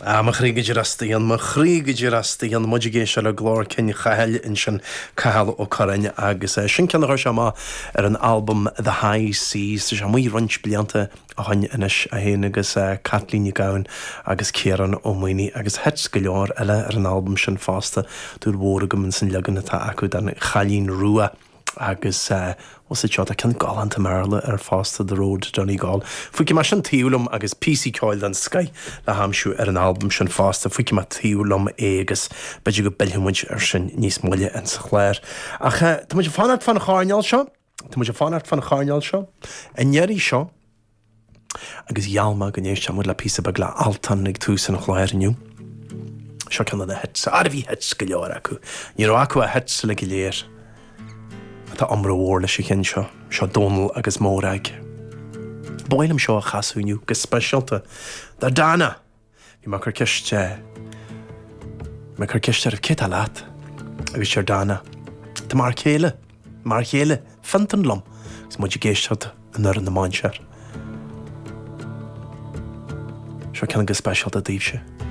Ah, mo chroí go díreach staon, mo chroí go díreach staon, muid ag éisteacht le glór cinn Chathail ansin, Cathal Ó Curráin, agus sin ceann a chuir sé amach ar an albam The High Seas, tá sé amuigh roinnt blianta ó shoin anois, é féin agus Caitlín Nic Gabhann agus Ciarán Ó Maonaigh, agus hits go leor eile ar an albam sin fosta, dúil mhór agam ins an leagan atá acu den Chailín Rua. Agus what's it seo, tá ceann galánta i mBéarla air fosta, The Road to Donegal. Feicfidh mé sin taobh liom agus píosaí ceoil den scoith le haimsiú ar an albam sin fosta. Feicfidh mé taobh liom é agus b'fhéidir go bpillfidh muid air sin níos moille in sa chlár. Ach tá muid ag fanacht fán choirnéal seo, tá muid ag fanacht fán choirnéal seo, an iarraidh seo, Agus gheall mé go n-éistfeadh muid le píosa beag le Altan ag tús an chláir inniu. Seo ceann de na hits, ara bhí hits go leor acu. Ní raibh acu ach hits uilig go léir. Tá iomrá mhór leis an cheann seo. Seo Dónal agus Mórag. Ba mhaith liom seo a chasadh inniu go speisialta do Dana! Bhí mé ag cur ceist mé ag cur ceist oraibh cé tá leat? Agus deir Dana, Tá m'fhear céile, m'fhear chéile, Fiontan liom agus muid ag éisteacht in Urrann na Mainséar. Seo ceann go speisialta daoibhse.